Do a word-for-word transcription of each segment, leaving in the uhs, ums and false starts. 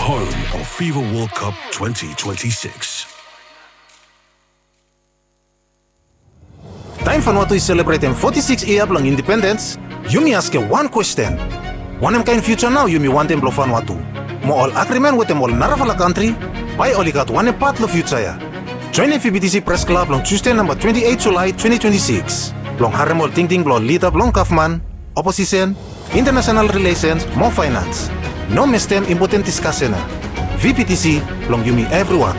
Home of FIFA World Cup twenty twenty-six. Taem Vanuatu i selebretem foti sikis yia blong indipendens, yumi askem wan kwesten. Wanem kaen fiuja nao yumi wantem blong Vanuatu? Mo ol agrimen wetem ol narafala kantri, bae oli gat wanem pat long fiuja ya? Joenem VPTC Pres Klab long Tusde namba twenti eit Julae twenti twenti sikis blong harem ol tingting blong ol lida blong gavman, oposisen, intanasonal rilesens mo faenans. No mistem impoten diskasen ya. VPTC blong yumi evriwan.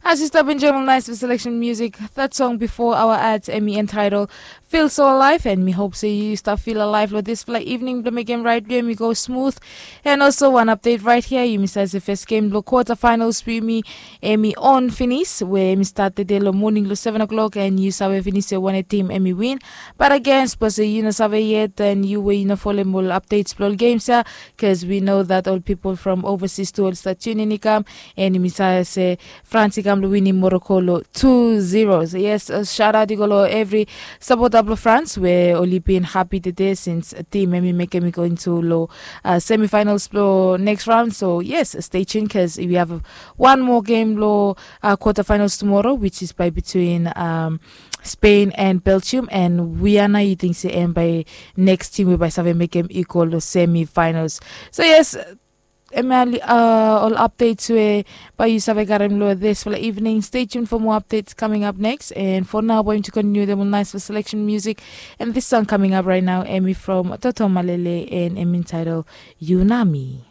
As yu stap enjoem ol naes seleksen musik, that song before our ads, em i entitled Feel So Alive, and mi hop se yu stap feel alive long disfala evening blong mekem ride blong yumi go smooth. And also one update right here, yumi save se first game blong quarter finals blong yumi em i on finis, we em i start tede long moning long seven o'clock, and yu save finis se wanem tim em i win. But again, sapos se yu no save yet, and yu we yu no folem ol updates blong ol games ya, cause we know that ol pipol from overseas tu oli start tune in i kam, and yumi save se France i kam long winim Morocco long two zero. So yes, uh, shout out i go long evri sapota blong France we oli bin hapi tede since tim em i mekem i go into long uh, semifinals blong next round. So yes, stay tuned cause we have one more game long uh, quarter finals tomorrow, which is by between um, Spain and Belgium, and we are now eating se em by next team we by save mekem i go long semifinals. So yes, Emily, uh, ol updates we bae yu save karem long disfala evening. Stay tuned for more updates coming up next. And for now, bae yumi continue dem ol naes seleksen musik. And this song coming up right now, em i from Toto Malele, and em i entitled Yu Na Mi.